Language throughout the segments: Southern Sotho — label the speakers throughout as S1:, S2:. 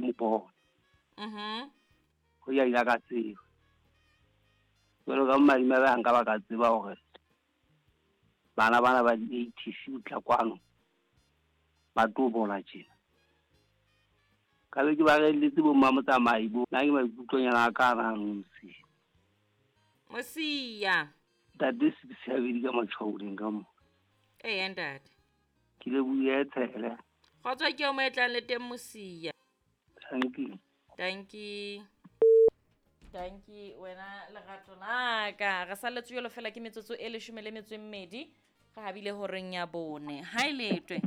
S1: mo bona. Ho ya ile ka tseba. Jwalo ka madimabe ha nka ba ka tseba hore bana bana ba di-ATC ho tla kwano ba tlo bola tjena. Ka be ke ba reelletse bo mmamotsamai bo. Nna ke maikutlonyana a ka ana ano Mosia.
S2: Mosia.
S1: Ntate Six habedi ka matshwaoleng ka mo.
S2: Eya ntate.
S1: Ke lebohile tshele.
S2: Kgotso ke o mo etlang le teng Mosia.
S1: Thank you.
S2: Thank you. Thank you wena lerato la ka. Re salletswe jwalo fela ke metsotso e 12 re habile horeng ya 4. Ha e letwe.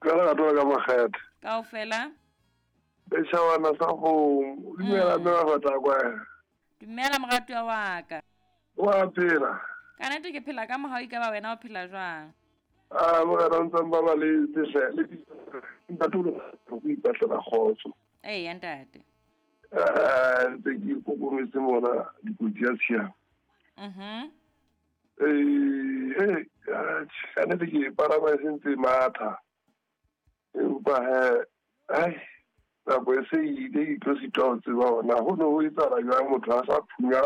S3: Ka lerato la ka makgethe.
S2: Kaofela.
S3: Setjhabana sa kgomo. Dumela mme wa fata kwa.
S2: Dumela moratuwa wa ka.
S3: Wa phela.
S2: Ka nnete ke phela ka mohau, ekaba wena o phela jwang?
S3: Ah, morena o ntse ba ba le tsehle le ntate o go ipatlela kgotso.
S2: Eya ntate.
S3: Ntse ke ikokometse mona dikotsi ya tshiamo. Ka nnete ke palama e sentse matha. Empa he, ai, nako e se ile ke tlo sitwa ho tseba hore na ho ne ho etsahala jwang motho a sa phunya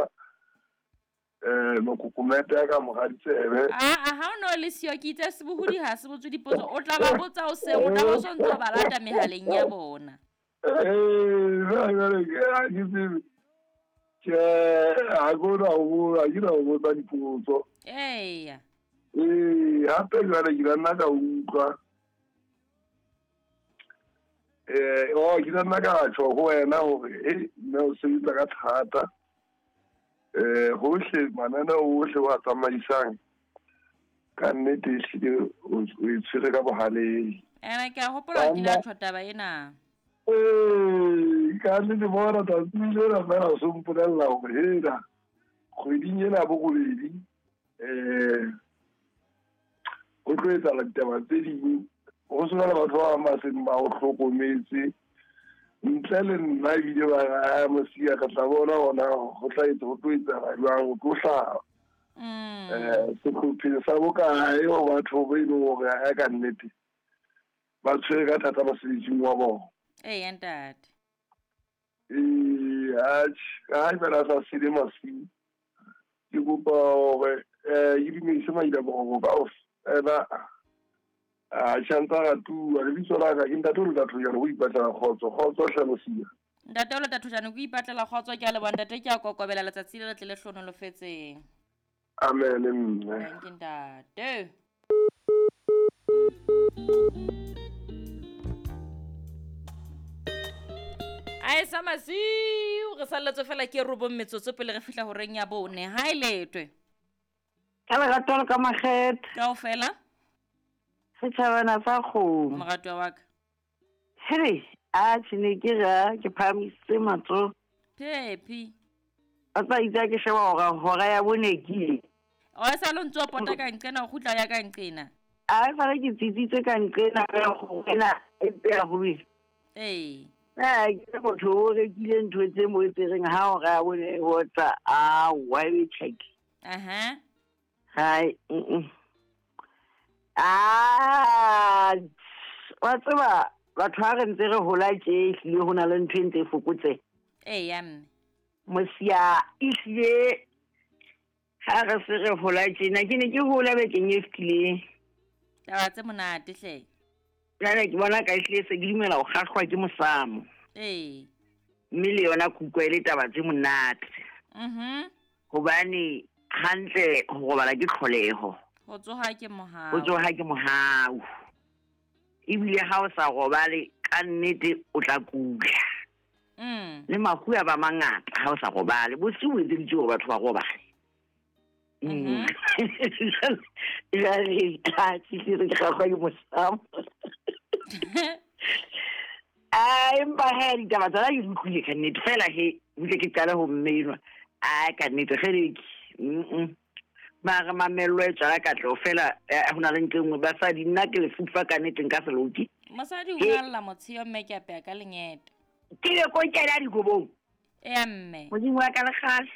S3: mokokomete a ka mora ditsebe.
S2: Aa, ha o no le siyo ke itse sebohodi ha se botswe dipotso, o tla ba botsa o seng, o tla ba o sontso ba lata mehaleng ya bona.
S3: Jwale ke ha ke tsebe. Tjhe, ha ke na ho botsa, ha ke na ho botsa dipotso.
S2: Eya.
S3: Hape jwale ke la nna ka utlwa. Ke la nna ka tjho ho wena hore mme o sebetsa ka thata. Hohle mananeo ohle wa tsamaisang ka nnete ehlile o e tshwere ka bohaleng.
S2: Ene ke a hopola ke la tjho taba ena.
S3: Ka nnete bona tsatsi lena fela o so mpolella hore hela kgweding ena bo robedi ho tlo etsahala ditaba tse ding, ho sena le batho ba bang ba seng ba o hlokometse ntle le nna ebile ba re, "Ah, Mosia re tla bona hona ho tla etsa ho tlo etsahala jwang, ho tlo hlaha sehlopheng sa bokae ho batho ba e leng hore ha ka nnete ba tshwere ka thata mosebetsing wa bona."
S2: Eya ntate.
S3: Atjhe, ha fela sa sele masiu ke kopa hore ke dumedise maila kaofela a tjhantsa ratuwa. Lebitso la ka ke ntate o leta Thojane ho ipatlela kgotso. Kgotso hle Mosia.
S2: Ntate o leta Thojane ko ipatlela kgotso, ke a leboha ntate, ke a kokobela letsatsi le letle le hlonolofetseng.
S3: Amen mme.
S2: Thank you ntate. Ae sa masiu re salletswe fela ke 9 metsotso pele re fihla horeng ya 4. Ha e letwe.
S4: Ka lerato le ka makgethe.
S2: Kaofela.
S4: Setjhabana sa kgomo.
S2: Moratuwa wa ka.
S4: Hele, a tjhe ne ke ra ke phahamisitse matsoho.
S2: Phephi.
S4: A tsa itse ke sheba hore hora ya 4 ke ile.
S2: O sa lo ntso pota ka nqena o kgutla ya ka nqena.
S4: A sale ke tsitsitse ka nqena ka go wena e tseya ho le.
S2: Ee.
S4: Ke motho o rekile ntho tse mo tse reng ha hora ya 4 ho tla a wa e check.
S2: Aha.
S4: Hai. Ah, wa tseba batho ha re ntse re hola tje ehlile ho na le ntho e ntse e fokotse.
S2: Eya mme.
S4: Mosia ehlile ha re se re hola tjena ke ne ke hola bekeng e fetileng.
S2: Taba tse monate hle.
S4: Jwale ke bona ka ehlile se ke dumela ho kgahlwa ke mosamo.
S2: Ee.
S4: Mme le yona kutlwa e le taba tse monate. Hobane hantle ho robala ke tlholeho.
S2: Ho tsoha ke mohau.
S4: Ho tsoha ke mohau. Ebile ha o sa robale ka nnete o tla kula. Le mafu a ba mangata ha o sa robale. Bosiu bo etseditswe hore batho ba robale. Jwale ha ke re ke kgahlwa ke mosamo. Ah, empa he ditaba tsona ke di utlwile ka nnete fela he butle ke qale ho mmenwa. Ah, ka nnete kgeleke. Mara mamello e tswala katleho fela ho na le ntho e nngwe basadi nna ke lefufa ka nnete nka se loke.
S2: Mosadi o ngalla motsheo mme ke apeya ka lengete.
S4: Ke le ko kena dikobong.
S2: Eya mme.
S4: Modimo wa ka le kgale.